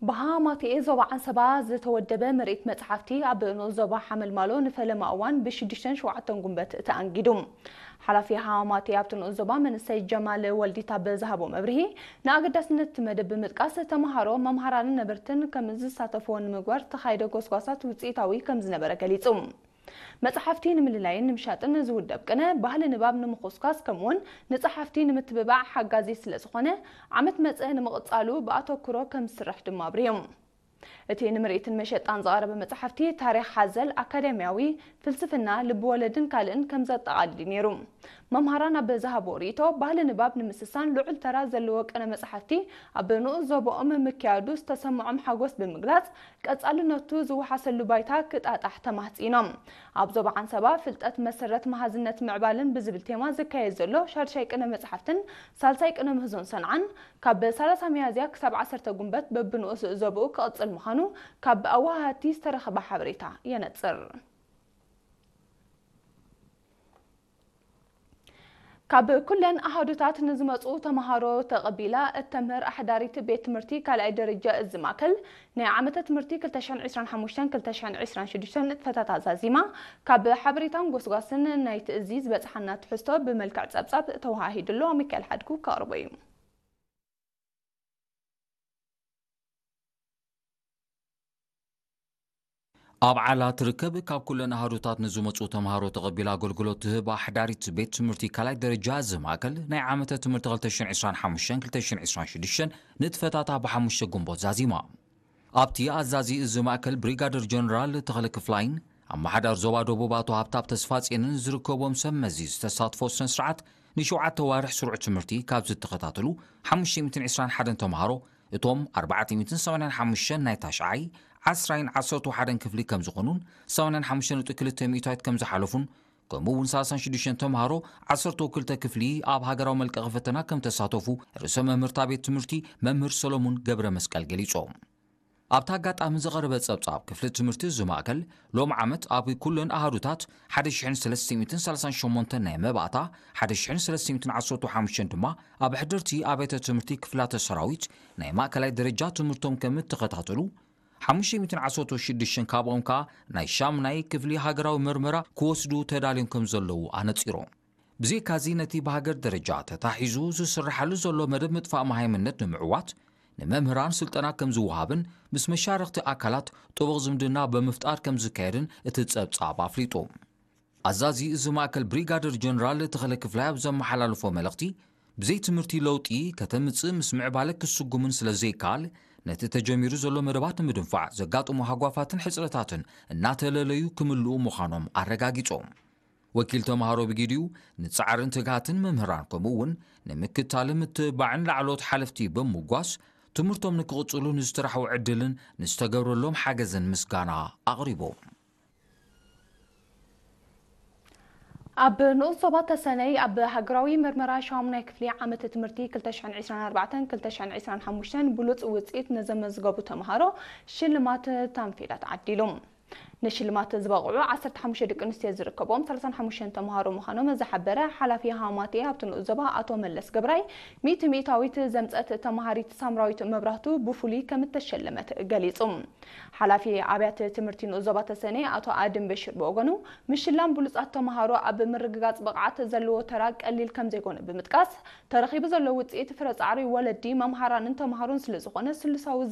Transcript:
ብሃማቴ ዞባ ዓንሰባ ዝተወደበ ምርኢት መጽሓፍቲ ኣብ ንኡስ ዞባ ሓመልማሎ ንፈለማ እዋን ብሽዱሽተን ሸውዓተን ጉንበት ተኣንጊዱ። ሓላፊ ሃማቴ ኣብቲ ንኡስ ዞባ መንእሰይ ጀማል ወልዲታ ብዝሃቦ መብርሂ፣ ንኣገዳስነት እቲ መደብ ብምጥቃስ፣ ተመሃሮ፣ መምሃራንን ነበርትን ከም ዝሳተፍዎ ንምግባር ዝተኻየደ ጎስጓሳት ውጽኢታዊ ከም ዝነበረ ገሊጹ። መጽሓፍቲ ንምልላይን ንምሻጥን ዝውደብ ቅነ፣ ባህሊ ንባብ ንምኹስኳስ ከምኡውን ንጸሓፍቲ ንምትብባዕ ሓጋዚ ስለ ዝኾነ፣ ዓመት መጸ ንምቕጻሉ ብኣተኩሮ ከም ዝስራሕ ድማ ኣብሪዮም። እቲ ንምርኢትን መሸጣን ዝቐረበ መጽሓፍቲ ታሪኽ ሓዘል፣ ኣካዳሚያዊ፣ ፍልስፍና፣ ልብወለድን ካልእን ከም ዘጠቓልል እዩ ነይሩ። መምሃራን ኣብ ዝሃቦ ርእይቶ፣ ባህሊ ንባብ ንምስሳን ልዑል ተራ ዘለዎ ቅነ መጽሓፍቲ ኣብ ንኡስ ዞባኦም ምክያዱ ዝተሰምዖም ሓጎስ ብምግላጽ፣ ቀጻልነቱ ዝወሓሰሉ ባይታ ክጣጣሕ ተማህጺኖም። ኣብ ዞባ ዓንሰባ ፍልጠት መሰረት መሃዝነት ምዕባልን ብዝብል ቴማ ዝካየድ ዘሎ ሻድሻይ ቅነ መጽሓፍትን ሳልሳይ ቅነ ምህዞን ሰንዓን ካብ ሰላሳ ሚያዝያ ክሳብ ዓሰርተ ጉንበት በብንኡስ ዞባኡ ክቕጽል ምዃኑ ካብ ኣወሃሃድቲ ዝተረኸበ ሓበሬታ የነጽር። ካብ ኩለን ኣሃዱታት ንዝመጹ ተመሃሮ ተቐቢላ እተምህር ኣሕዳሪት ቤት ትምህርቲ ካልኣይ ደረጃ እዚ ማእከል፣ ናይ ዓመተ ትምህርቲ ክልተ ሽሕን ዕስራን ሓሙሽተን ክልተ ሽሕን ዕስራን ሽዱሽተን ንጥፈታት ኣዛዚማ፣ ካብ ሓበሬታን ጎስጓስን ናይቲ እዚ ዝበጽሓና ትሕዝቶ ብመልክዕ ጸብጻብ ተወሃሂዱ ኣሎ። ሚካኤል ሓድጉ ከቕርቦ እዩ። ኣብ ዓላ ትርከብ ካብ ኩለን ኣሃዱታት ንዝመጹ ተምሃሮ ተቐቢላ ኣገልግሎት ትህብ ኣሕዳሪት ቤት ትምህርቲ ካልኣይ ደረጃ እዚ ማእከል፣ ናይ ዓመተ ትምህርቲ ክልተ ሽሕን ዕስራን ሓሙሽተን ክልተ ሽሕን ዕስራን ሽዱሽተን ንጥፈታታ ብሓሙሽተ ግንቦት ዛዚማ። ኣብቲ ኣዛዚ እዚ ማእከል ብሪጋደር ጀነራል ተኽለ ክፍላይን ኣመሓዳር ዞባ ደቡብ ኣቶ ሃብታብ ተስፋጽዮንን ዝርከቦም ሰብ መዚ ዝተሳትፎ ስነ ስርዓት፣ ንሸውዓተ ዋርሕ ስሩዕ ትምህርቲ ካብ ዝተኸታተሉ ሓሙሽተ ሚእትን ዕስራን ሓደን ተምሃሮ፣ እቶም ኣርባዕተ ሚእትን ሰማንያን ሓሙሽተን ናይ ታሽዓይ፣ ዓስራይን ዓሰርተ ሓደን ክፍሊ ከም ዝኾኑን፣ ሰማንያን ሓሙሽተ ነጥቢ ክልተ ሚእታዊት ከም ዝሓለፉን፣ ከምኡ እውን ሰላሳን ሽዱሽተን ተምሃሮ፣ ዓሰርተ ክልተ ክፍሊ ኣብ ሃገራዊ መልቀቒ ፈተና ከም ተሳተፉ ርእሰ መምህርታ ቤት ትምህርቲ መምህር ሰሎሙን ገብረ መስቀል ገሊጾም። ኣብቲ ኣጋጣሚ ዝቐረበ ጸብጻብ፣ ክፍሊ ትምህርቲ እዚ ማእከል ሎም ዓመት ኣብ ኩለን ኣሃዱታት ሓደ ሽሕን ሰለስተ ሚእትን ሰላሳን ሸሞንተን ናይ መባእታ፣ ሓደ ሽሕን ሰለስተ ሚእትን ዓሰርተ ሓሙሽተን ድማ ኣብ ሕድርቲ ኣብያተ ትምህርቲ ክፍላተ ሰራዊት ናይ ማእከላይ ደረጃ ትምህርቶም ከም እተኸታተሉ፣ ሓሙሽተ ሚእትን ዓሰርተ ሽዱሽተን ካብኦም ከኣ ናይ ሻምናይ ክፍሊ ሃገራዊ መርመራ ክወስዱ ተዳልዮም ከም ዘለዉ ኣነጺሮም። ብዘይካዚ፣ ነቲ ብሃገር ደረጃ ተታሒዙ ዝስርሓሉ ዘሎ መደብ ምጥፋእ መሃይምነት ንምዕዋት፣ ንመምህራን ስልጠና ከም ዝወሃብን ምስ መሻርኽቲ ኣካላት ጥቡቕ ዝምድና ብምፍጣር ከም ዝካየድን እቲ ጸብጻብ ኣፍሊጡ። ኣዛዚ እዚ ማእከል ብሪጋደር ጀነራል ተኽለ ክፍላይ ኣብ ዘመሓላለፎ መልእኽቲ፣ ብዘይ ትምህርቲ ለውጢ ከተምጽእ ምስ ምዕባለ ክስጉምን ስለ ዘይከኣል፣ ነቲ ተጀሚሩ ዘሎ መደባት ንምድንፋዕ ዘጋጥሙ ሃጓፋትን ሕጽረታትን እናተለለዩ ክምልኡ ምዃኖም ኣረጋጊጾም። ወኪል ተምሃሮ ብጊዲኡ፣ ንጻዕርን ትግሃትን መምህራን ከምኡ እውን ንምክታልን ምትብባዕን ላዕለዎት ሓለፍቲ ብምጓስ፣ ትምህርቶም ንክቕጽሉ ንዝተራሕዎ ዕድልን ንዝተገብረሎም ሓገዝን ምስጋና ኣቕሪቦም። ኣብ ንኡስ ዞባ ተሰነይ ኣብ ሃገራዊ መርመራ ሻሙናይ ክፍሊ ዓመተ ትምህርቲ ክልተ ሽሕን ዕስራን ኣርባዕተን ክልተ ሽሕን ዕስራን ሓሙሽተን ብሉጽ ውጽኢት ንዘመዝገቡ ተምሃሮ ሽልማት ታንፌላ ተዓዲሉ። ንሽልማት ዝበቕዑ ዓሰርተ ሓሙሽተ ደቂ ኣንስትዮ ዝርከብዎም ሰላሳን ሓሙሽተን ተምሃሮ ምዃኖም ዝሓበረ ሓላፊ ሃማቴ ኣብቲ ንኡስ ዞባ ኣቶ መለስ ገብራይ፣ ሚእቲ ሚእታዊት ዘምጸት ተምሃሪት ሳምራዊት መብራህቱ ብፍሉይ ከም እተሸለመት ገሊጹ። ሓላፊ ኣብያተ ትምህርቲ ንኡስ ዞባ ተሰነይ ኣቶ ኣድም በሽር ብወገኑ፣ ምሽላም ብሉጻት ተምሃሮ ኣብ ምርግጋጽ ብቕዓት ዘለዎ ተራ ቀሊል ከም ዘይኮነ ብምጥቃስ፣ ተረኺቡ ዘሎ ውጽኢት ፍረ ጻዕሪ ወለዲ፣ መምሃራንን ተምሃሮን ስለ ዝኾነ፣ ስሉሳዊ